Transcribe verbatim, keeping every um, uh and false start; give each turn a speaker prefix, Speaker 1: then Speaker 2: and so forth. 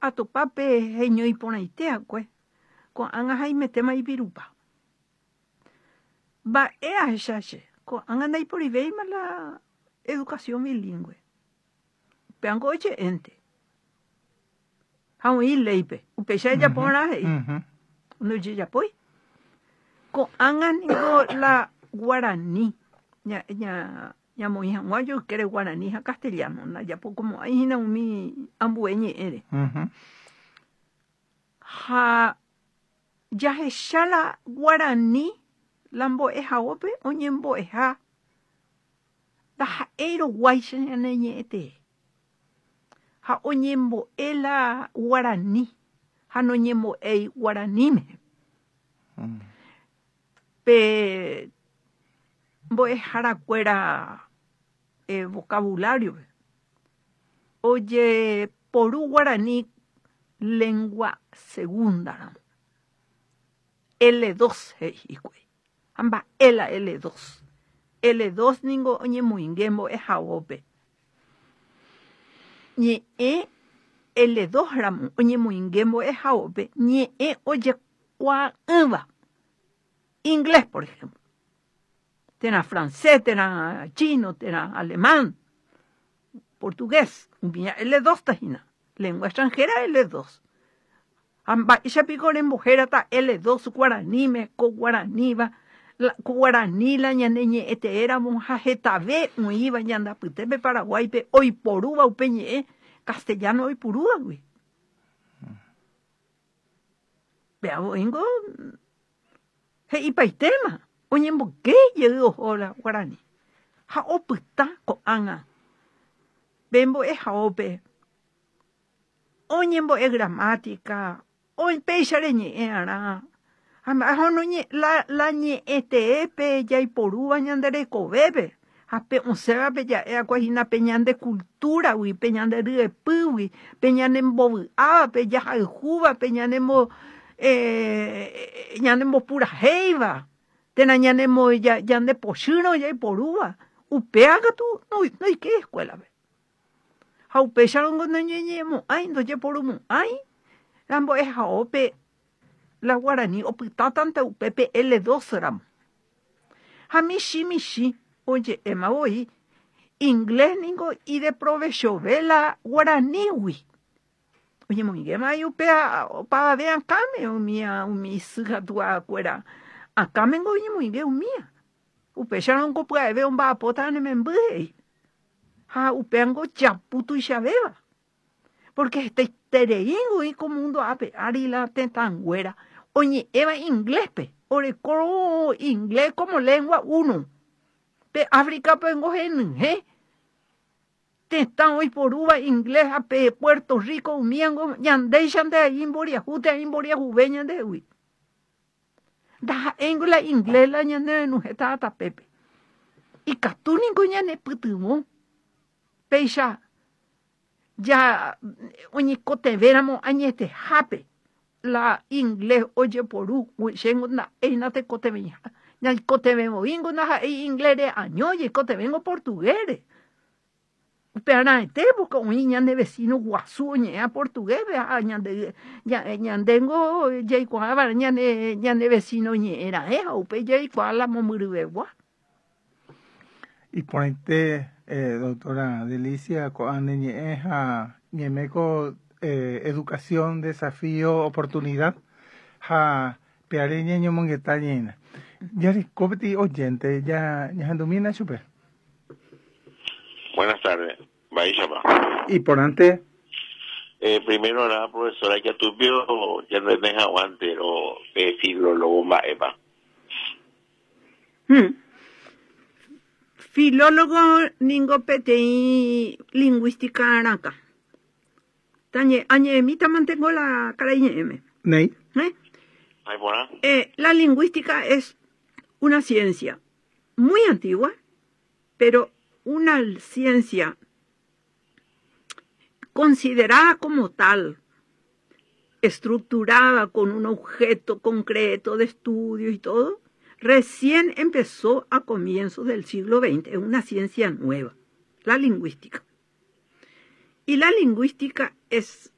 Speaker 1: atopa pe heñoiporãite'akue ko'ág̃a haimetéma ipirupa. Mba'e ahecha che ko'ág̃a ndaiporivéima la educación bilingüe. Upévango oje'énte. Ha oĩ léipe upéicha ejaporã he'i. Ndojejapói. Ko'ág̃a niko la guarani ña ña ñamoĩ hag̃ua joykére guarani ha castellano ndajapokomo'ãihína umi ambue ñe'ẽre. Ha jahecha la guarani la mbo'ehaópe oñembo'eha ndaha'éiroguáicha ñane ñe'ẽtee. Ha oñembo'e la guarani ha noñembo'éi guaraníme. Pe mbo'eharakuéra eh, vocabulario-pe ojeporu guarani lengua segunda ramo. L dos he'i hikuái. Ha mba'e la L dos. L dos ningo oñemoinge mbo'ehaópe. Ñe'ẽ L dos ramo oñemoinge mbo'ehaópe ñe'ẽ ojekuaa'ỹva. Inglés, por ejemplo. Térã francés, térã chino, térã alemán, portugués. Umíva L dos tahína. Lengua extranjera L dos. Ha mba'éichapiko rembohérata L dos guaraníme ko guaraníva la ko guarani la ñane ñe'ẽteéramo ha hetave oĩva ñandapytépe Paraguáipe oiporúva upe ñe'ẽ castellano oipurúvagui. Péavoíngo he'ipaitéma oñemboyke jey oho la guarani ha opyta ko'ág̃a pe mbo'ehaópe oñembo'e gramática péicha reñe'ẽ'arã ha la la ñe'ẽteépe jaiporúva ñande rekovépe ha pe osẽvape ja'e'akuehína pe ñande culturagui pe ñande ryepýgui pe ñanembovy'áva pe jahayhúva pe ñanembo eh, ñanembopurahéiva térã ñanemo ñandepochýrõ jaiporúva upéva katu noike escuela-pe. Ha upéicharõngo noñeñe'ẽmo'ãi ndojeporumo'ãi la mbo'ehaópe la guarani opytátante upépe L dos ramo. Ha michĩ michĩ oje'éma voi inglés ningo ideprovechove la guaranígui. Oñemoingéma upéva opavave akãme umía umi isy ha tuakuéra akãmengo oñemoinge umía. Upéicharõngo pya'eve omba'apóta ne memby he'i. Ha upévango japu tuichavéva. Porque hetaitereíngo ko mundo ápe ári la tetãnguéra oñe'ẽva ingléspe oreko inglés como lengua uno. Pe Áfricapengo henyhẽ tetã oiporúva inglés ha pe Puerto Rico umíango ñandéichante imboriahu térã imboriahuve ñandehegui. Ndaha'éingo la inglés la ñanerenyhẽta tapépe. Ikatúniko ñanepytyvõ péicha ya oñekotevéramo añetehápe la inglés ojeporu chéngo nda'éina tekotevẽha ñaikotevẽvoíngo ndaha'éi inglésre año jaikotevẽngo portuguésre. Upearãete porque oĩ ñande vecino guasu oñe'ẽva portuguéspe ha ñande ñandéngo jaikuaáva ñane ñane vecino ñe'ẽra'e ha upéi jaikuaa la mombyryvegua.
Speaker 2: Iporãite eh, doctora Delicia ko'ã ne ñe'ẽ ha ñaiméko eh, educación, desafío, oportunidad ha peare ñañomongeta ñeína. Jareko peteĩ oyente ya ñahendumína chupe.
Speaker 3: Buenas tardes, Mba'éichapa.
Speaker 2: Iporãnte.
Speaker 3: Eh, primero nada, profesora, que tupio ya no es aguante o de filólogo mba'épa.
Speaker 1: Hmm. Filólogo ningo peteĩ lingüística arãka. Tañe añe'ẽmíta mantengo la karaiñe'ẽme.
Speaker 2: Néi.
Speaker 1: ¿Eh?
Speaker 3: Ahí porã.
Speaker 1: Eh, la lingüística es una ciencia muy antigua, pero una ciencia considerada como tal, estructurada con un objeto concreto de estudio y todo, recién empezó a comienzos del siglo veinte, es una ciencia nueva, la lingüística. Y la lingüística es